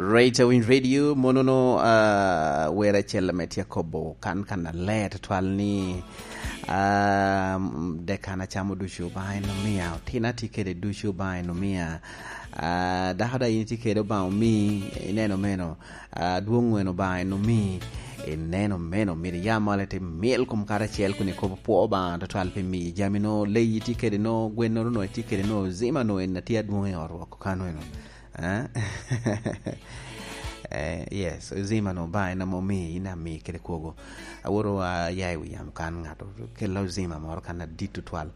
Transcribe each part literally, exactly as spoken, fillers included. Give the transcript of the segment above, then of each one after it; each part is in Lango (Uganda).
Rate Winy Radio, monono, ah, wer acel ame tye akobo kan, kan aler tutwal ni, ah, dek kan acamo ducu Obaŋa en omia, otina tye kede ducu Obaŋa en omia, ah, dako daŋ in itye kede Obaŋa omi, ineno meno, ah, dwoŋ en Obaŋa en omi, ineno meno, myero iya malo ite myel kom karacel kun ikobo pwo Obaŋa tutwal pi miyi jami no, leyi tye kede no, gwennoro no itye kede no, zima no en atye adwoŋ i ot woko kano eno. Eh? Eh, yes, ozima no ba en ame omi, in ami kede kwogo. Aworo aya i wi yamo kan ŋat okella ozima moro kan adit tutwal.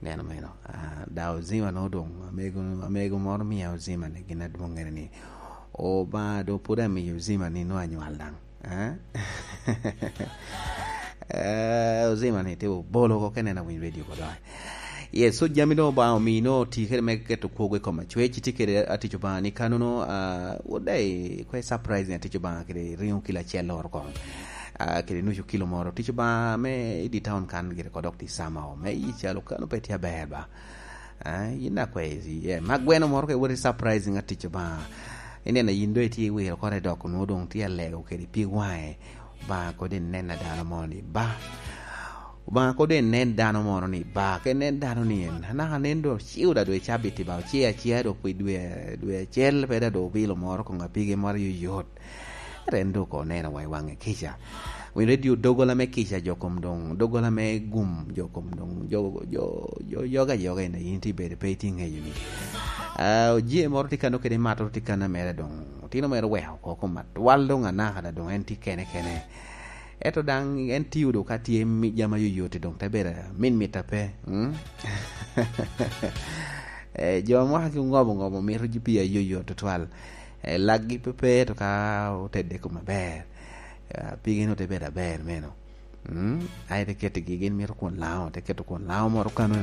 Neno meno. Ah, da ozima no doŋ, amego, amego moro mia ozima ni gin adwoŋŋere ni, "Obaŋa doŋ pwod amiyo ozima ni nwa anywal daŋ." Eh? Eh, ozima ni te obolo oko kene na winy radio ko doŋ. Yes, so jami doŋ Obaŋa omi no ti kede me keto kwogo i kom acwec, iti kede atic Obaŋa ni kanono, ah, wot dai kwe surprise ni atic Obaŋa kede ringo kilo acel loro koŋ. Ah, kede nucu kilo moro. Tic Obaŋa me i di town kan gire ko dok di sama o. Me i calo kano pe tye aber ba. Ah, yin akwe, yeah, ma gweno moro ke wot i surprising atic Obaŋa. Ineno yin doŋ itye iwiro kore dok onwo doŋ tye alego kede pi waŋe. Obaŋa kodi nen a dano moro ni ba. Obaŋa kodi nen dano moro ni ba. Ke nen dano ni en. Anaka nen do ciu da dwe cabit ba. Oce acia do pwi dwe, dwe acel pe da do bilo moro kong apige moro yoyot. Ren do ko neno wa i waŋe kica. Winy radio dogola me kica jo kom doŋ, dogola me gum jo kom doŋ, jo, jo, jo, yoga, yoga ina yin ti bedo pe iti ŋeyo ni. Ah, ojie moro ti kano kede mato ti kano mere doŋ. Otino mere weko oko kom atwal doŋ anaka da doŋ en ti kene kene. Eto daŋ en tio do ka tye mi-, jama yoyot doŋ te bedo min mit ape. Mm? Eh, jo mwaka ki ngobo ngobo mito ji pi ayoyot tutwal. Eh, laggi pe pe to ka otedde kom aber. Eh, pigi no te bedo aber meno. Mm? Ai te ketigi gin mito kwon lao, te keto kwon lao moro kano.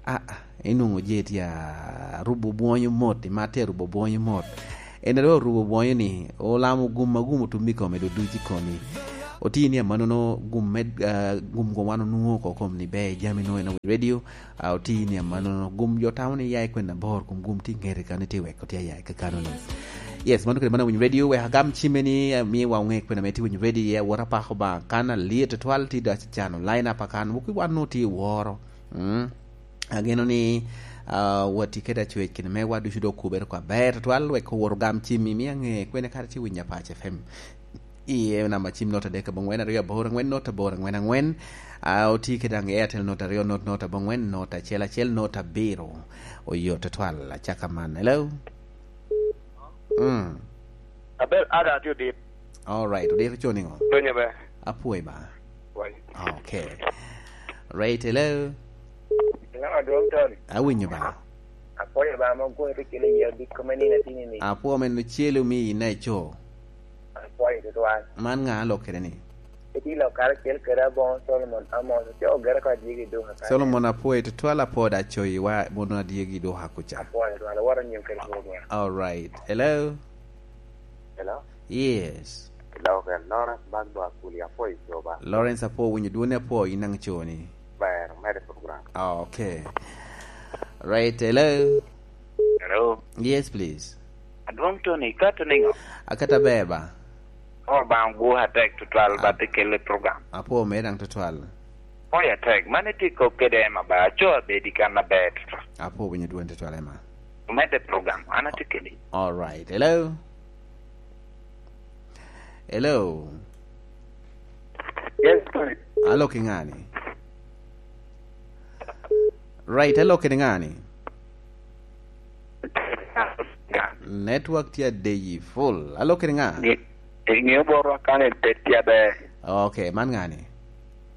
Ah, ah, inwoŋo je tye a rubo bwonyo mot, imat tye a rubo bwonyo mot. En a dok orubo bwonyo ni, olamo gum ma gum otum i kome, do duc i komi. Oti ni amanono gum me, ah, gum gum wan onwoŋo oko kom ni ber jami no en awi radio, ah, oti ni amanono gum jo tamo ni ya i kwen abor, kum gum ti ŋete kano ti weko ti aya i kakano ni. Yes, mano kede mano awinyo radio, wek agam cimme ni, ah, mi wa oŋe kwen ame ti winyo radio iye, awot apako ba kan alyet tutwal ti do acano line up akan, wuki wan no ti woro. Mm. Ageno ni, ah, wati kede acwec kede mewa ducu dok okubere oko aber tutwal, wek owot ogam cimmi, mi aŋe kwene kara ci winyo Apac F M. Iye namba cim nota adek abongwen aryo aboro angwen nota aboro angwen angwen. Ah, oti kede daŋ Airtel nota aryo not nota abongwen nota acel acel nota abiro. Oyot tutwal, acaka man. Hello? Mm. Aber, ada, atye odit. All right, odito co niŋo? Donyo be. Apwoyo ba. Wai. Okay. Right, hello. Hello, Adwong Tony. Awinyo ba. Apwoyo ba, ma gwok ite kelo yia bik kome nino atini ni. Apwoyo men ocelo mi ina ico. Apwoyo tutwal. Man ŋa alok kede ni? Iti lok karacel kede aboŋo Solomon Amos, co ogere ko adyegi duka kare. Solomon apwoyo tutwal, apwoyo da coyi wa mono adyegi duka kuca. Apwoyo tutwal, awoto nyim kede program. All right. Hello? Hello? Yes. Hello, kel Lawrence Bagbo Akuli, apwoyo coba. Lawrence apwoyo winyo dwoni apwoyo in daŋ coni. Ber, mede program. Ah, okay. Right, hello? Hello? Yes, please. Adwong Tony, ikato niŋo? Akata ber ba? Oh, ba gwok atek tutwal, ah, ba te kelle program. Apwoyo mere daŋ tutwal. Apwoyo atek. Man itye kop kede Emma ba, aco abedi kan aber tutwal. Apwoyo winyo dwoni tutwal, Emma. Omedde program, an atye kedi. All right. Hello? Hello? Yes, sir. Alo ki ŋani? Right, alo kede ŋani? Network tye adeyi full. Alo kede ŋa? Ni, iŋeo borwa kane pe tye aber. Okay, man ŋani?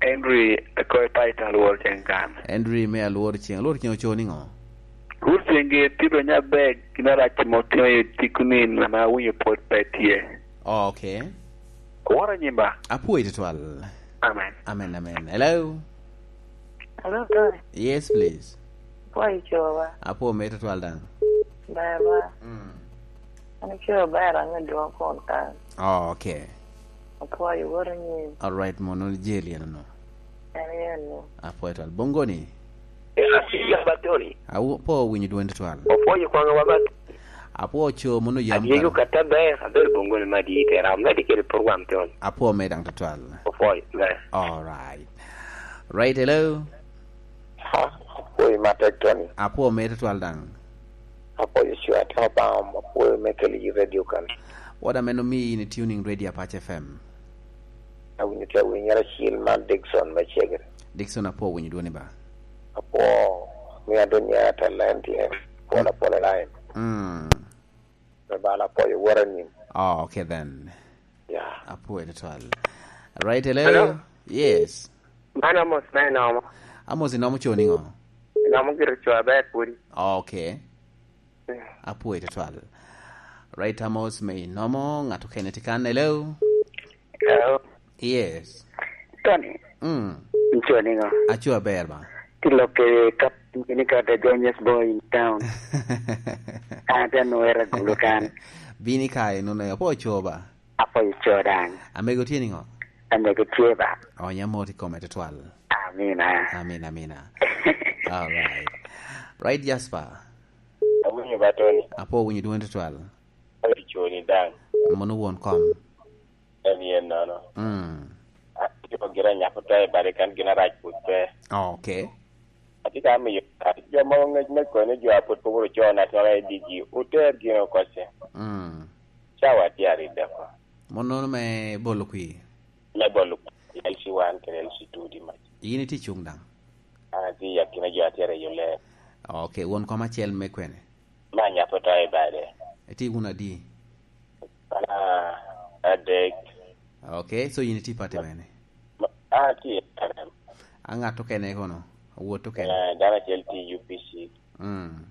Henry, ekoy pa ita Alwor Ceng kan. Henry me Alwor Ceng. Alwor Ceng oco niŋo? Alwor Ceng gi tye donyo aber, gin arac ma otimo i tiko ni, ame awinyo pwod pe tye. Oh, okay. Oworo nyim ba? Apwoyo tutwal. Amen. Amen, amen. Hello? Hello, Tony. Yes, please. Apwoyo coba. Apwoyo mere tutwal daŋ. Ber ba? Mm. An coba ber, an adwong kun kan. Oh, okay. Apwoyo woro nyim. All right, mono jeli eno no. En yen ni. Apwoyo twal. Bongoni? Ya, ya, ba Tony. Awo, po winyo dwoni twal. Opwoyo kwaŋ wa ba. Apwo co mono yam Adyego kara. Katta ber, aber bongo ni madi te ram, medi kede program ton. Apwo me dang tutwal. Opwoyo, ber. All right. Right, hello. Ha, apwoyo matek, Tony. Apwo me tutwal dang. Apwoyo cwa, atamo baŋ, apwoyo me keli i radio kan. What a meno mi in tuning radio Apache F M. Awinyo te winyo acil man Dickson me Cegere. Dickson, apwo winyo dwoni ba. Apwo, mi adonya talent, pwola, pwola line. Mm. Me bala apwoyo wora nim. Oh, okay then. Yeah. Apwoyo tutwal. Right, hello? Hello? Yes. Man Amos me Nomo. Amos, inomo co niŋo? Nomo gire co aber pwodi. Oh, okay. Mm. Apwoyo tutwal. Right, Amos me Nomo, ŋat okene tye kan, hello? Hello? Yes. Tony. Mm. Inco niŋo? Aco aber ba. Ti lokke kap ni ka the genius boy in town. Ate nwera gulu kan. Bini ka inono, apwo co ba. Apwo co dang. Amego tye niŋo? Amego tye ba. Onya mot i kome tutwal. Amina. Amina, amina. All right. Right, Jasper. Awinyo ba, Tony. Apwo winyo dwoni tutwal. Odi coni dang. Mono won kom. En yen nono. Mm. Atye gira nyako to i bade kan gin arac pwod pe. Oh, okay. Atye ka miyo jo mogo ngec me kono jo a pwod pe guro co national I D gi, oter gin oko ce. Mm. Cawa tye aride oko. Mon nono me bolo kwir? Me bolo kwir, L C one kede L C two di mac. In itye cuŋ daŋ? An atye i akina jo a tye aryo ler. Ok, won kom acel me kwene? Me anyap oto i bade. Itye wun adi? An a-, adek. Ok, so in itye i pati mene? Ma, an atye i N R M. A ŋat okene kono? Awot okene? Eh, dano acel tye i U P C. Mm.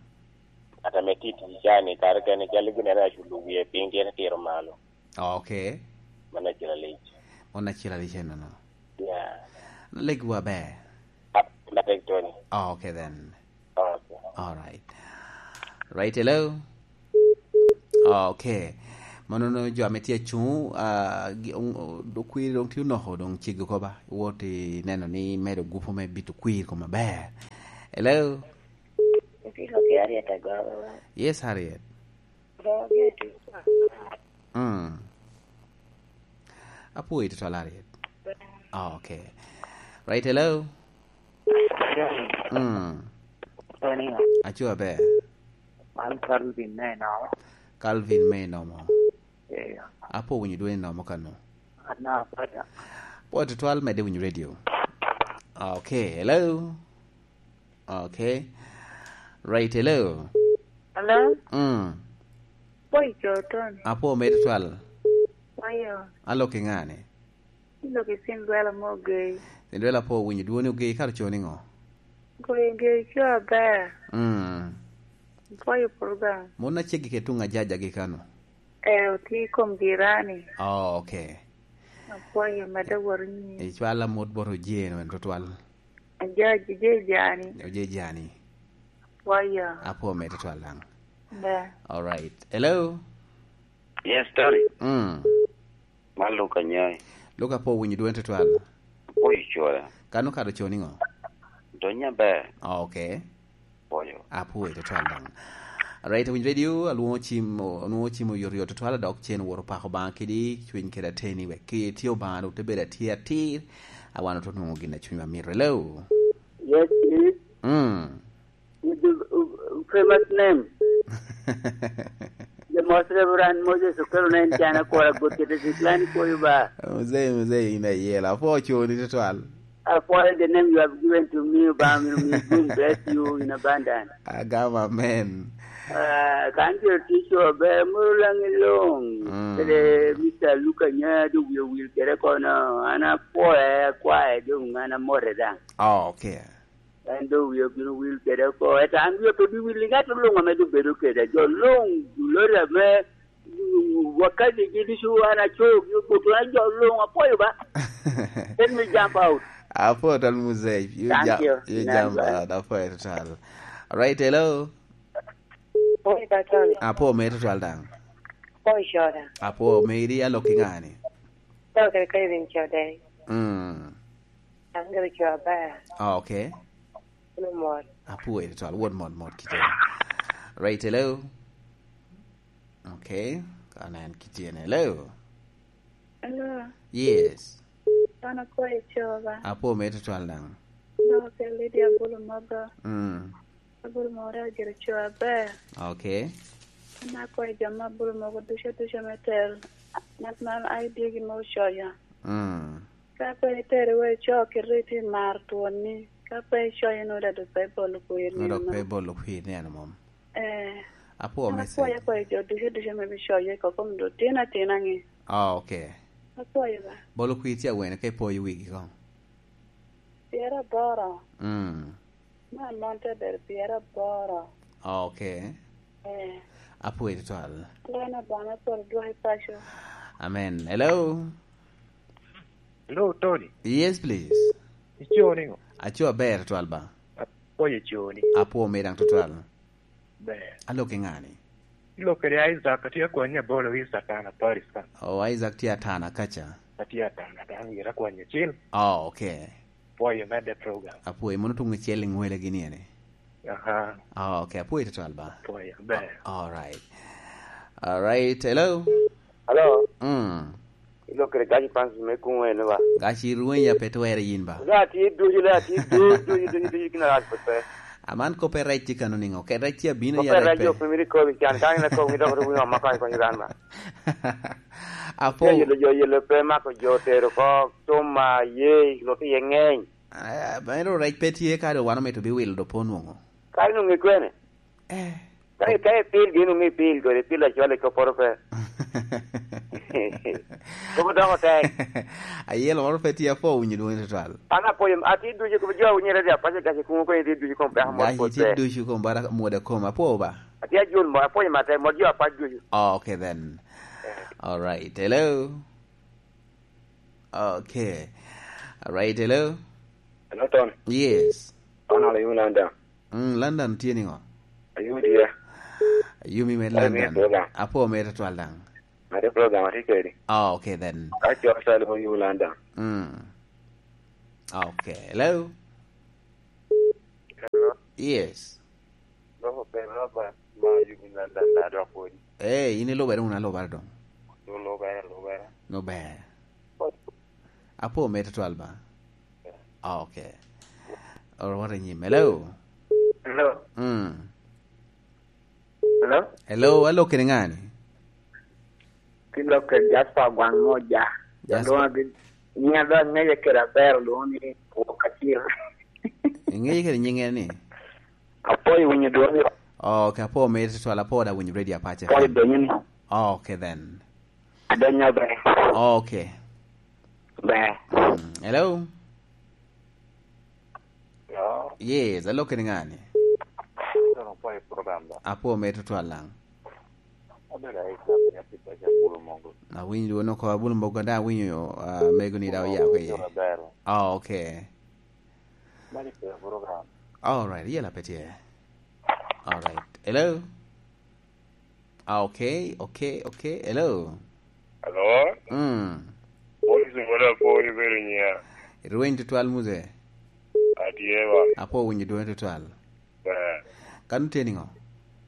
Ŋat ame tye i tic ca-ni, kare kene cal gin ene aculo wie piny, tyen tiro malo. Ok. Mano acel alic. Mano acel alic enono. Yeah. Legwa ber. Ah, matek, Tony. Oh, okay then. Okay. All right. Right, hello? Oh, okay. Mano no jo ame tye acuŋ, ah, gi-, oŋ-, o-, do-, kwiri doŋ tye onoko, doŋ ceggi oko ba. Iwot ineno ni medo gupu me bito kwir kom aber. Hello? Yes, Harriet. Mm. Apwoyo tutwal, Harriet. Oh, okay. Right, hello? Mm. Aco aber. Man Calvin me Nomo. Calvin me Nomo. Yeah. Apwo winyo dwoni Nomo kano. Ana, brother. Apwo tutwal, medde winyo radio. Okay, hello? Okay. Right, hello. Hello? Mm. Boy, Jordan. Apwo me tutwal. Ayo. Alo ki ŋani? Ilo ki Cinderella mo Ogei. Cinderella, apwo winyo dwoni Ogei, kara co niŋo? Goyo Ogei co aber. Mm. Apwoyo program. Mon aceggi ke tuŋ ajaja gi kano? Eh, otye i kom jirani. Oh, okay. Apwoyo, medde wot i nyim. Icwal amot bot Ojee-nu en tutwal. Ajaji, Ojee Jani. Ojee Jani. Apwoyo. Apwo me tutwal daŋ. Be. All right. Hello? Yes, Tony. Mm. Man Luka Nyai. Luka, apwo winyo dwoni tutwal. Apwoyo cwara. Kano kara co niŋo? Donyo aber. Oh, okay. Apwoyo. Apwoyo tutwal daŋ. Right, Winy Radio, alwoŋo cim, alwoŋo cim oyotoyot tutwal, dok cen woro pako Obaŋa kidi cwiny kede ateni, wek ki itye Obaŋa, dok te bedo atye atir, a wan oto nwoŋo gin a cunywa mito. Hello? Yes, please. Mm. With the, uh, famous name. The most Reverend Moses Okelo na en can akwora got kete decline for you ba. Mzee, mzee, in a yela. Apwo coni tutwal. Apwoyo the name you have given to me, Obaŋa myero mi gun bless you in abundance. Agam amen. Ah, kan jo tic ober, moro lang i long. Mm. Kede Mister Luka Nya, do wiye wil kede kono. An apwoye, akwaye, dong an amote daŋ. Oh, okay. En do wiye obino wil kede oko. Eto an wiya pe bi wil i ŋat luŋ ame do bedo kede. Jo luŋ, lori ame Wakati gi ducu an acoyo gi obuto, an jo luŋ apwoyo ba. Let me jump out. Apwoyo twal muzee. You Thank jump, you. You jump out. Apwoyo twal. Right, hello. Apwoyo ba, Tony. Apwoyo mere twal daŋ. Apwoyo coda. Apwoyo meri, alok i ŋani? Alok i Kevin Codei. Mm. An gire co aber. Ah, okay. Kuno mot. Apwoyo twal, wot mot mot kite. Right, hello. Okay, ka nen kitye ni. Hello. Hello. Yes. An akwayo coba. Apwo me tutwal daŋ. Dok okel Lydia Bulu Mogo. Mm. Abulu Mogo ojiro co aber. Okay. An akwayo jo ma Abulu Mogo ducu ducu me tero National I D gi me ocoyo. Mm. Ka pe itero iwe ico kite iti mar twoni. Ka pe icoyo nwodo dok pe ibolo kwir ni. Nwodo pe ibolo kwir ni ano mom. Eh. Apwo me segi. Akwayo, akwayo jo ducu ducu me bicoyo i kokom do tin atina ni. Oh, okay. Akwayo ba. Bolo kwir tye awene ka ipoyo wigi koŋ. Pyera aboro. Mm. Man mon te bedo pyera aboro. Oh, okay. Eh. Apwo tutwal. Lena bana pol dwai paco. Amen. Hello. Hello, Tony. Yes, please. Ico niŋo? Aco aber twal ba. Apwoyo coni. Apwo me daŋ tutwal. Ber. Alo ki ŋani? Ilo kede Isaac, atye akwanya bolo Isaac an Paris ka. Oh, Isaac tye atana kaca. Atye atana, dano ira kwanya cil. Oh, okay. Pwoyo medde program. Apwoyo, mono tuŋ icel i ŋwele gini ene? Aha. Oh, okay, apwoyo tutwal ba. Pwoyo, ber. All right. All right, hello? Hello? Mm. Ilo kede gaci Francis me kuŋ ene ba. Gaci rwenya pe twere yin ba. Ilo atye ducu, ilo atye ducu, ducu, ducu, ducu, kina rat pe pe. Aman kope rec tye kano niŋo? Ke rec tye abino ya rec pe. Kope rec jo pe miri kobi can, kan ina kobi dok rwenya omaka i konyo gan ba. Apo. Yelo jo, yelo pe mako jo tero ko, tuma, ye, lo ki ye ŋeny. Ah, meno rec pe tye ka do wan omito biwilo do po nwoŋo. Ka ino ŋe kwene? Eh. Ka i-, ka ipil gin oŋe ipil kodi, ipil acwal i kopporo pe. Kop odoko tek. Ayelo moro pe tye apwo winyo dwongi tutwal. An apwoyo, atye ducu kop jo winyo radio apac i gaci kuŋo kwenye tye ducu kom peko mot. Gaci tye ducu kom bara mwoda kom apwo ba. Atye ajul mo, apwoyo matek, mot jo apac ducu. Oh, okay then. Eh. All right. Hello. Okay. All right, hello. Hello, Tony. Yes. Tony, are you in London? Mm, London tye niŋo? Are you there? Ayumi me London. Are you in London? Apo me tutwal daŋ. Mare program atye kedi. Oh, okay then. Ka cok sal mo you London. Mm. Okay. Hello. Hello. Yes. Dok obedo Robert ma yubo London da dok wodi. Eh, in ilubere wunu alubara doŋ. Lubere, lubere. Lubere. Apo me tutwal ba. Yeah. Ah, okay. Oro wot i nyim. Hello? Hello? Mm. Hello? Hello, alo kede ŋani? Ki lok kede Jasper Gwaŋ Moja. Jasper. Adwoŋ agi-, nying adwoŋ aŋeye kede aber lwoŋo ni Wok Acil. Iŋeye kede nyiŋe ni? Apwoyo winyo dwongi. Oh, okay, apwoyo meri tutwal, apwoyo da winyo radio apac. Apwoyo donyo ni. Oh, okay then. Adonyo ber. Oh, okay. Ber. Mm, hello? Hello? Yes, alo kede ŋani? Doŋ apwoyo program da. Apwoyo meri tutwal daŋ. Abedo aika piny apipa ca Bulu Mogo. Awinyo dwon oko Abulu Mogo, da awinyo, ah, mego ni da oya ko iye. Awinyo maber. Ah, okay. Mani pe program. All right, yela pe tye. All right. Hello? Ah, okay, okay, okay. Hello? Hello? Mm. Police wala pori bedo nya. Rweny tutwal muze. Atye ba. Apo winyo dwongi tutwal. Ber. Kan tye niŋo?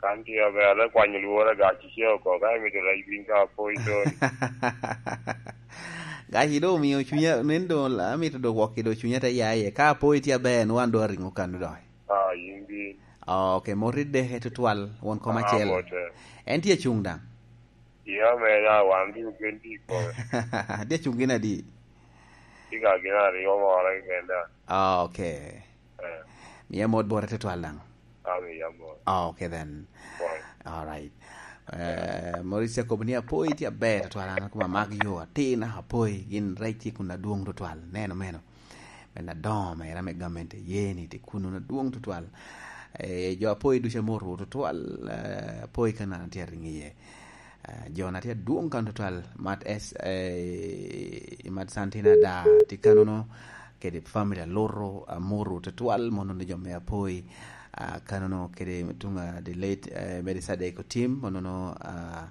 Kan tye ber, ale kwanyo lwora gaci ce oko, ka imito rec piny ka apo i toni. Gaci do omio cunya, nen do amito do wok i do cunya te ya iye. Ka apo itye aber, nwan do aringo kan do. Ah, yin bin. Ah, okay, mot i deke tutwal, won kom acel. Ah, bote. En tye cuŋ daŋ. Iya, me ya, wan duk gin tye i kome. Tye cuŋ gin adi? Tye ka gin aryo moro keken da. Ah, okay. Eh. Mia mot bote tutwal daŋ. Ami ya mot. Ah, okay then. Boy. All right. Eh, Maurice Jacob ni apoi tye aber tutwal, an kuma mag yo atin apoi gin rec tye kun adwoŋ tutwal. Neno meno. Men adoŋo mere ame gamente ye ni tye kuno adwoŋ tutwal. Eh, jo apoi ducu ame orwo tutwal, eh, apoi ka nano tye ariŋ iye. Ah, jo na tye adwoŋ kan tutwal, Mat S, eh, Mat Santina da tye kanono, kede family aluto, amuru tutwal, mono ni jo me apoi, ah, kanono kede tuŋ, ah, the late, eh, Mary Sadek Otim, mono no, ah,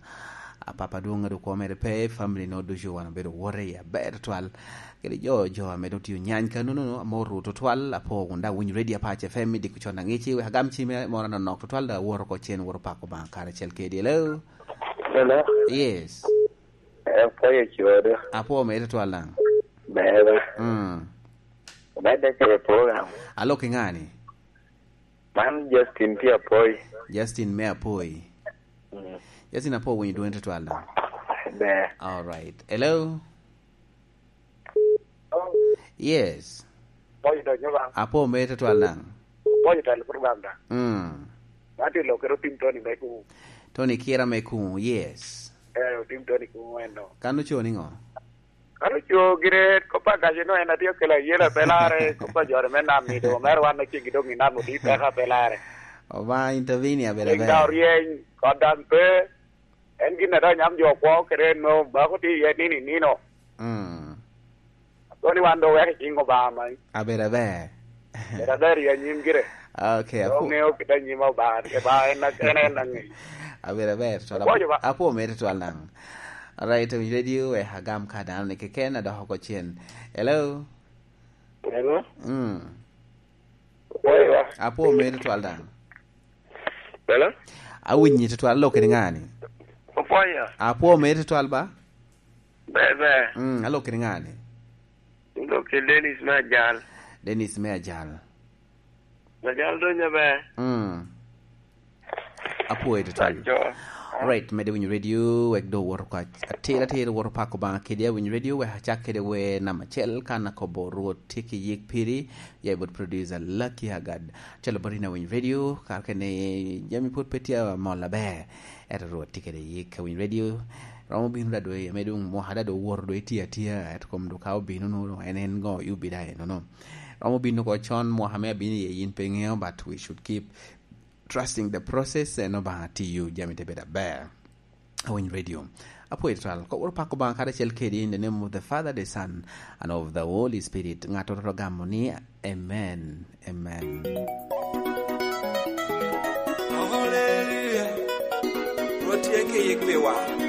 ah, papa adwoŋ ado kwo mere pe, family no ducu wan obedo wote i aber tutwal, kede jo, jo ame doŋ tye onyany kanono, amuru tutwal, apo wun da winyo Radio Apac F M i diko con aŋici, wek agam cime moro anonok tutwal, da awoto oko cen, woto pako Obaŋa karacel kede. Hello? Hello? Yes. Eh, apwoyo codo. Apwo mere twal daŋ. Beba. Mm. Obedde kede program. Alok i ŋani? Man Justin tye Apoi. Justin me Apoi. Mm. Justin Apoi winyo dwoni twal daŋ. Ber. All right. Hello? Yes. Apwoyo to nyoba. Apwo mere twal daŋ. Apwoyo to program da. Mm. Man tye lokere otim Tony me Kumu. Tony Kira me Kumu, yes. Eh, otim Tony Kumu eno. Kan oco niŋo? Kan oco gire kop a gace no en atye kela yela pelare, kop a jore me nam ni do, mere wan na cegi dong i nam odi peka pelare. Oba intervene ya bela. Eng da orieny, kod daŋ pe, en gin a daŋ nyam jo kwo kede en no, bako tye iye nino i nino. Mm. Kono ni wan do weko i cing Obama. Abedo aber. Bedo aber i anyim gire. Okay, do apu- ŋeo kit anyim Obama, Obama en, en, en aŋeyo. Abedo aber, so apo-, apo mere twal daŋ. Alright, to radio, eh, agam ka dano ni keken, adoko oko cen. Hello? Hello? Mm. Apwoyo wa. Apwo mere twal daŋ. Hello? Awinyi twal, alok kede ŋani? Apwoyo. Apwo mere twal ba? Ber, ber. Mm, alok kede ŋani? Alok kede Dennis me Ajal. Dennis me Ajal. Ajal donyo ber. Mm. Apwoyo twal. Right, mede winyo radio, wek do woto kwa atir atir woto pako Obama kede winyo radio, wek acak kede wer namba acel kan akobo Rwot tye ki yik piri, ya i bot producer Lucky Agad. Calo bot ina winyo radio, kar kene jami pwod pe tye amol aber. Ento Rwot tye kede yik ka winyo radio. Romo bino da dwe, me dong mwaka da dong owoto dong itye atia, ento kom dong ka obino no, en en go yubi da eno no. Romo bino ko con mwaka me abino iye yin pe ŋeo, but we should keep trusting the process, and Obama tiyo, jami te bedo aber. Awiny radio. Apwoyo twal. Kop woro pako Obama karacel kedi in the name of the Father, the Son, and of the Holy Spirit. Ŋat oro gamo ni, amen, amen. Hallelujah. Rwot tye ki yik piwa.